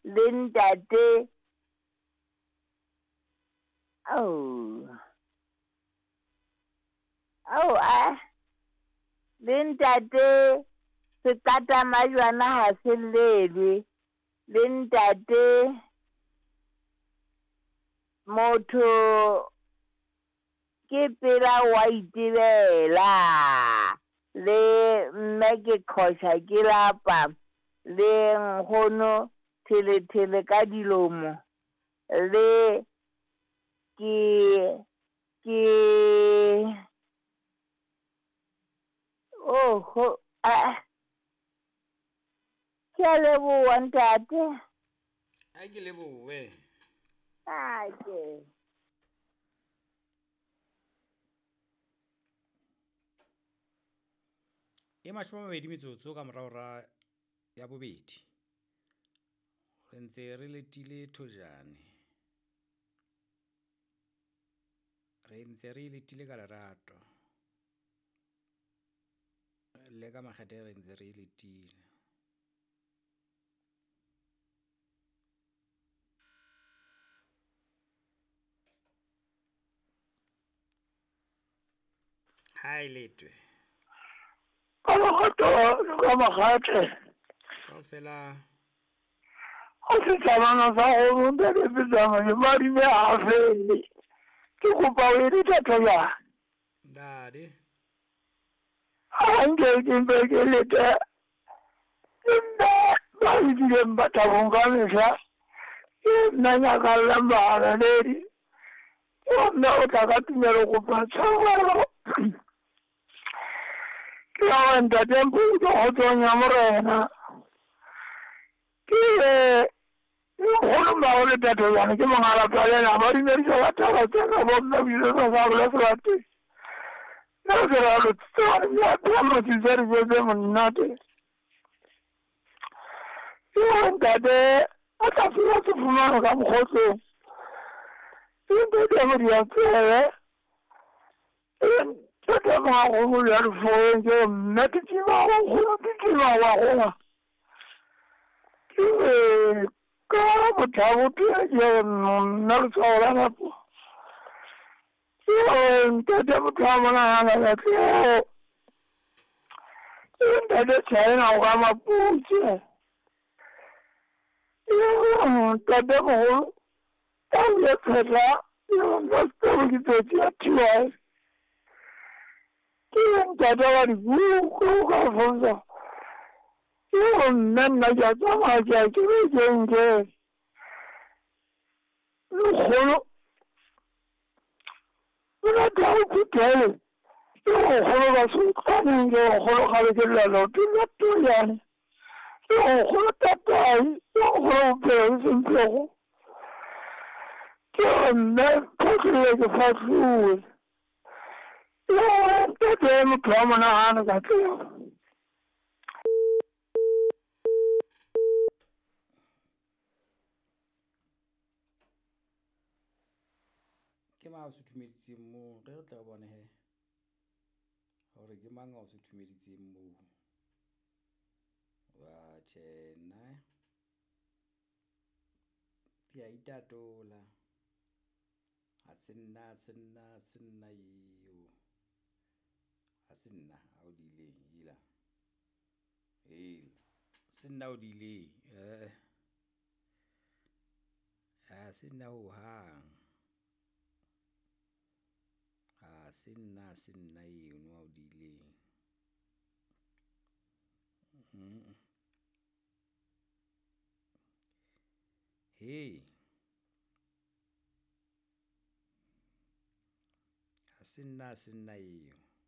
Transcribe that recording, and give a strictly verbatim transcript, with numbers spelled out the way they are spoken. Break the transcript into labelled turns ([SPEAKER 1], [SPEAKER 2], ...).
[SPEAKER 1] Le ntate oh oh ah le ntate sekata majwana ha se llelwe le ntate motho ke pela wa itebela le mme ke qhosha ke lapa le nkgono thele thele ka dilomo le ke ke oh ho ah ke a leboha ntate.
[SPEAKER 2] A ke lebohe.
[SPEAKER 1] A ke
[SPEAKER 2] e mashome a mabedi metsotso ka morao ra ya bobedi. Re ntse re letile thojane. Re ntse re letile ka lerato. Le ka makgethe re ntse re letile. Hai letwe.
[SPEAKER 3] Ka makgethe, ka makgethe.
[SPEAKER 2] Kaofela.
[SPEAKER 3] O se tsamana sa go ntate Petsana madime a fele. Ke kopa o e dithatho ya.
[SPEAKER 2] Ntate.
[SPEAKER 3] Ha nke ke mpe ke lete. Nna ba ileng ba thabong ka mehla. Ke nna nyakallang bahalaledi. Ke nna o tla ka tumelo kopa tshwarelo. Ke ya ntate Mpho kgotsong ya morena. Ke nkgono mmago le tate jane ke mongalapa le ena ba dumedisa ba thaba tsena bo mme bile sa sa bola sebate. Nna ke ra lo tsaya motse dijo tse monate. Ke ntate a tla fiwa se fumana ka mokgotlong. Ke ntate Modiantsebe. Ke mmago ya lefoeng ke mme ke tsima wa nkgono ke tsima wa gongwa. Ke ka bothabo ke nna letshwao la nako. Ke ntate motho wa monahana ka tleo. Ke ntate China o ka Maputse. Ke ntate mogolo ka o ye phetla ke nna sekolo ke tsotsi ya T Y. Ke ntate wa dibuko ka fonza. Ke nna nna ke a tsamaya ke ya kerekeng ke. Lekgolo o rata o phuthele. Ke nkgono ba sokaneng ke nkgono kgale ke lla ke la toyane. Ke nkgono tatai, ke nkgono bophelo bo semphego. Ke mme photlile ke fahluwe. Ke ntate motho wa monahano ka tleo.
[SPEAKER 2] Ke mang a o suthumeditseng moo? Re re tle re bone he hore ke mang a o suthumeditseng moo. Wa tjhe nna ke a itatola. Ha se nna, ha se nna, ha se nna eo. Ha se nna a o diileng ela. Ela. Se nna o diileng. Eh. Ha se nna hohang. Ha se nna, ha se nna eno a o diileng. Mm. Hey. Ha se nna, ha se nna eo.